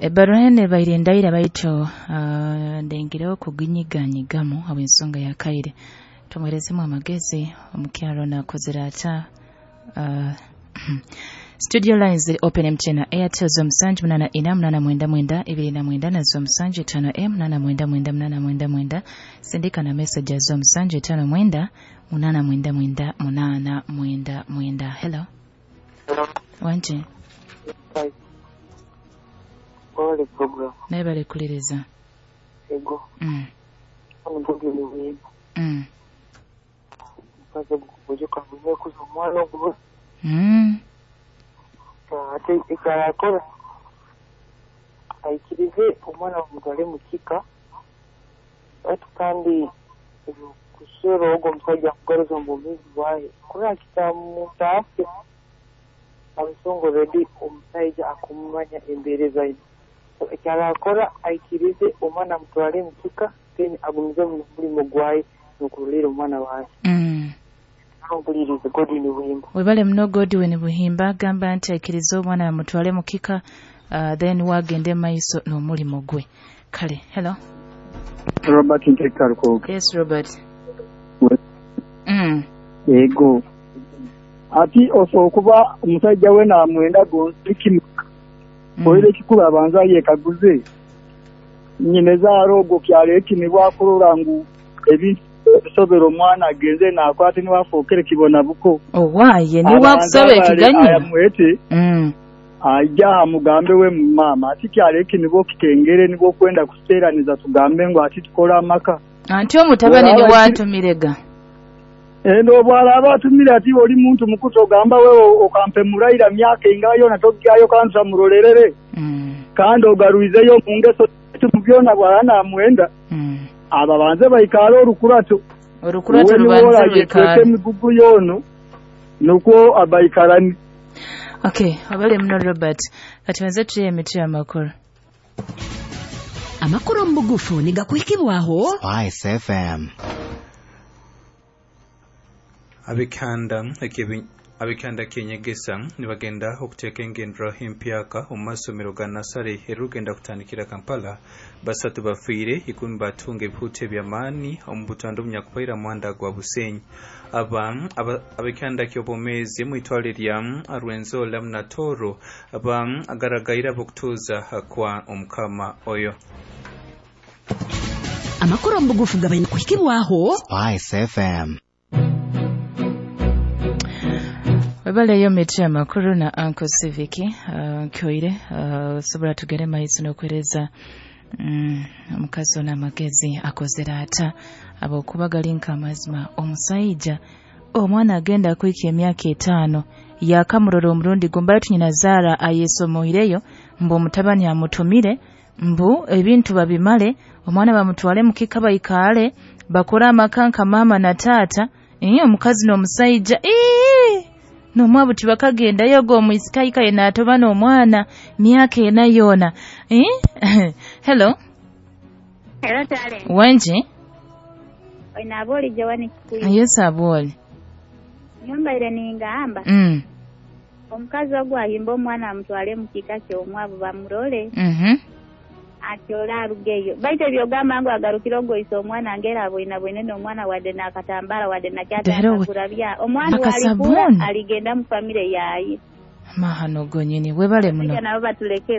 Ebbaruha eno ebaire ndaira baitu ndengireho kuginyiganyigamu habw'ensonga ya kaire. Tumuherezemu amagezi omukyaro ono akozere ata. Studio lines ziri open MTN na Airtel 0784 899 29 na 0754 899 899. Sindika na message ya 0759 899 899. Hello. Wanje. Wale program. Naye bali kuliriza. Ego. Ate ekyalakora aikirize omwana bamutwale mu kika, baitu kandi kuswera ogwo omusajja akugaruza omu bwomeezi bwaye kurora kitamutaasya abasongo redi omusajja akumumanya embeera zaine. Ekyalakora aikirize omwana amutwale mu kika, then agumize mu mulimu gwaye n'okurolera omwana waye. Godwin Buhimba. Webale muno Godwin Buhimba agamba nti aikirize omwana bamutwale mu kika, then wagende maiso n'omulimu gwe. Kale, hello. Robert Ntekarukooga. Yes, Robert. Ego. Ati osobola okuba omusajja we namwenda gonsikimu. Oire ekikulu abanza yekaguze. Nyine zaaro ogwo kyalo ekinibwa akurora ngu ebintu bisobera omwana agenze nakwate niwafookere kibona buko. Owaye niwakusaba ekiganyiro. Amwete. Aija amugambe we mama ati kyalo ekinibwa okitengere nibwo kwenda kuseeraniza tugambe ngu ati tukora amaka. Anti omutabani niwatumirega. Endo bwalaba atumire ati oli muntu mukuto ogamba wewe okampe muraira myaka ingayo na togyayo kansa murolerere. Kandi ogaruizeyo mu ngeso tubyona bwana amwenda. Aba banze baikara orukurato. Orukurato rubanze rwikara. Emigugu yono nuko abaikarani. Okay, abale muno Robert. Kati tuye emiti amakuru. Amakuru mbugufu nigakuhikibwaho Spice FM. Abikanda kyenyegesa nibagenda okuteeka engendera empyaka omu masomero ga nasare erugenda kutandikira Kampala. 3 bafiire, 10 batunga ebihuta eby'amaani omu butando obunyakubaira muhanda gwa Busenyi. Abikanda ky'obwomeezi mu itwale lya Rwenzori Munatoro agaragaire abokutuuza kwa omukama oyo. Amakuru omubugufu gabaine kuhikibwaho Spice FM. Webaleyo miti amakuru na Uncle Civic nkyoire sobola tugere maiso n'okwereza omukazi ono amagezi akozere ata abokuba gali amazima. Omusajja omwana agenda kwika emyaka 5 yakamurora omurundi gumbaitu nyina Zara ayesomoireyo mbu omutabani amutumire mbu ebintu babimale omwana bamutwale mukika baikale bakora amakanka mama na tata. Omukazi n'omusajja nomwabu tibakagendayo go omwisikaika yenatoba n'omwana myaka 4 yona. Hello. Hello darling. Wenji? Oina aboli Joani Kikuyu. Yes aboli. Nyumba ile ningamba. Omukazi ogwo ayimba omwana amutwale mu kika ky'omwavu bamurole. Atyola arugeyo. Baite byogamba ngo agarukira ogoisa omwana ngera aboina bwene n'omwana wadde n'akatambala wadde nakyatakakurabya. Omwana walikula aligenda mu famire yaye. Mahano gonyini webale muno. Nabo batuleke.